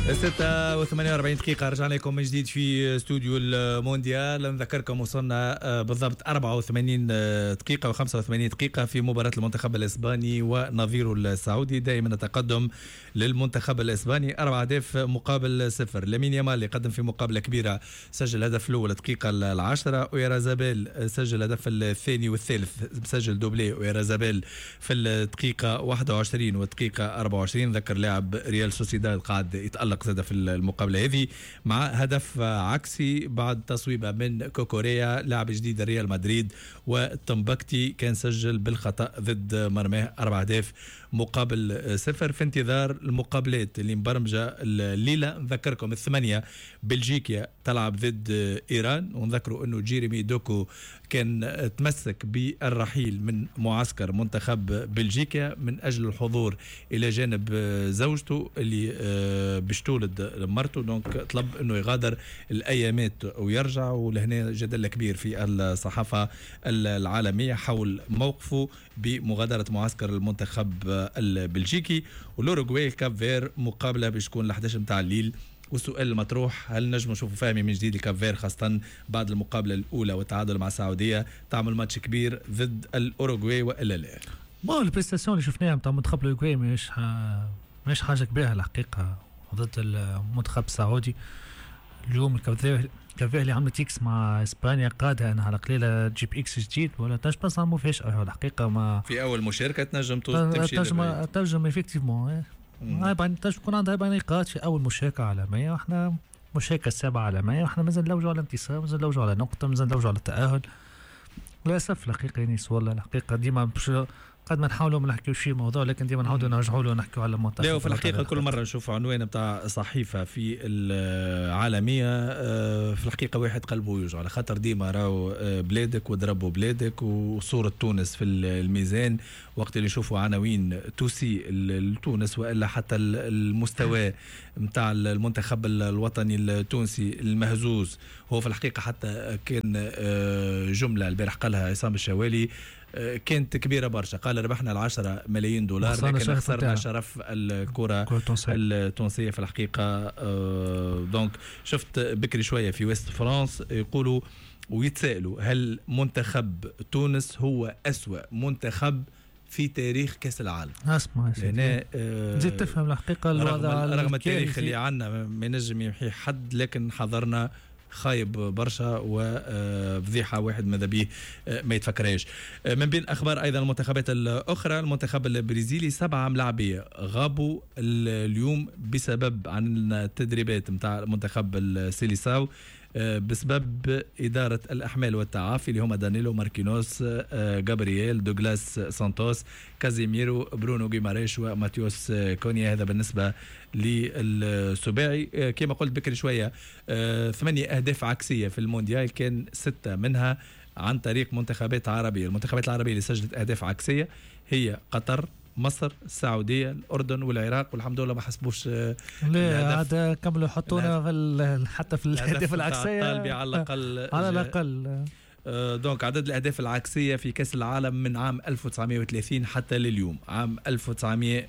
6:48، رجعنا لكم من جديد في استوديو المونديال. نذكركم وصلنا بالضبط 84 دقيقة و85 دقيقة في مباراة المنتخب الإسباني ونظيره السعودي. دائما التقدم للمنتخب الإسباني 4 أهداف مقابل 0. لامين يامال اللي قدم في مقابلة كبيرة، سجل الهدف الأول الدقيقة 10، أويارزابال سجل الهدف الثاني والثالث، سجل doublé أويارزابال في الدقيقة 21 والدقيقة 24. ذكر لاعب ريال سوسيداد قاعد يتألق زاد في المقابلة هذه مع هدف عكسي بعد تصويبة من كوكوريا، لاعب جديد ريال مدريد، وتمبكتي كان سجل بالخطأ ضد مرماه. 4 أهداف مقابل 0. في انتظار المقابلات اللي مبرمجة الليلة، نذكركم 8 بلجيكا تلعب ضد إيران، ونذكروا أنه جيريمي دوكو كان تمسك بالرحيل من معسكر منتخب بلجيكا من أجل الحضور إلى جانب زوجته اللي باش تولد مرته، donc طلب أنه يغادر الأيامات ويرجع. ولهنا جدل كبير في الصحافة العالمية حول موقفه بمغادرة معسكر المنتخب البلجيكي. والأوروغواي كاب فير مقابلة باش تكون ل 11 متاع الليل، والسؤال المطروح: هل نجم نشوفوا فهمي من جديد الكاب فير، خاصة بعد المقابلة الأولى والتعادل مع السعودية، تعمل ماتش كبير ضد الأوروغواي وإلا لا؟ bon، ال prestation اللي شفناها نتاع منتخب الاوروغواي مش حاجة كبيرة الحقيقة ضد المنتخب السعودي. اليوم الكاب فير اللي عملت X مع اسبانيا قادها انها على قليله تجيب X جديد ولا تنجم تصنع مفاجاة الحقيقة ما في اول مشاركة تنجم تمشي. تنجم effectivement تنجم تكون عندها 4 نقاط في اول مشاركة عالميه، واحنا مشاركة السابعة عالميه، واحنا مازال نلوجوا على انتصار، مازال نلوجوا على نقطه، مازال نلوجوا على التاهل. للاسف الحقيقة يعني والله الحقيقة ديما قد ما نحاولوا ما نحكيوش في موضوع، لكن ديما نعاودوا نرجعوا له ونحكيوا على المنتخب. لا، وفي الحقيقة كل مرة نشوف عنوان بتاع صحيفة في العالميه، في الحقيقة واحد قلبه يوجع، على خاطر ديما راهو بلادك وضربوا بلادك وصوره تونس في الميزان. وقت اللي يشوفوا عناوين تسيء لتونس والا حتى المستوى نتاع المنتخب الوطني التونسي المهزوز، هو في الحقيقة حتى كان جملة البارح قالها عصام الشوالي كانت كبيرة برشا، قال ربحنا ال10 ملايين دولار لكن خسرنا شرف الكره التونسية في الحقيقه. donc شفت بكري شوية في ويست فرانس يقولوا ويتسالوا: هل منتخب تونس هو أسوأ منتخب في تاريخ كاس العالم؟ اسمع، زيد تفهم الحقيقة الوضع. رغم التاريخ اللي عندنا ما ينجم يمحي حد، لكن حضرنا خايب برشا وفضيحه واحد ماذا به ما يتفكرهاش. من بين اخبار ايضا المنتخبات الاخرى، المنتخب البرازيلي سبعة ملاعبيه غابوا اليوم بسبب عن التدريبات نتاع المنتخب السيليساو بسبب إدارة الأحمال والتعافي، اللي هما دانيلو، ماركينوس، جابرييل، دوغلاس سانتوس، كازيميرو، برونو جيماريش وماتيوس كونيا. هذا بالنسبة للسباعي. كما قلت بكري شوية، 8 أهداف عكسية في المونديال كان 6 منها عن طريق منتخبات عربية. المنتخبات العربية اللي سجلت أهداف عكسية هي قطر، مصر، السعوديه، الاردن والعراق، والحمد لله ما حسبوش. لا عاد كملوا حطونا في حتى في الاهداف العكسيه. الطالبي على الاقل. على الاقل. Donc عدد الاهداف العكسيه في كاس العالم من عام 1930 حتى لليوم عام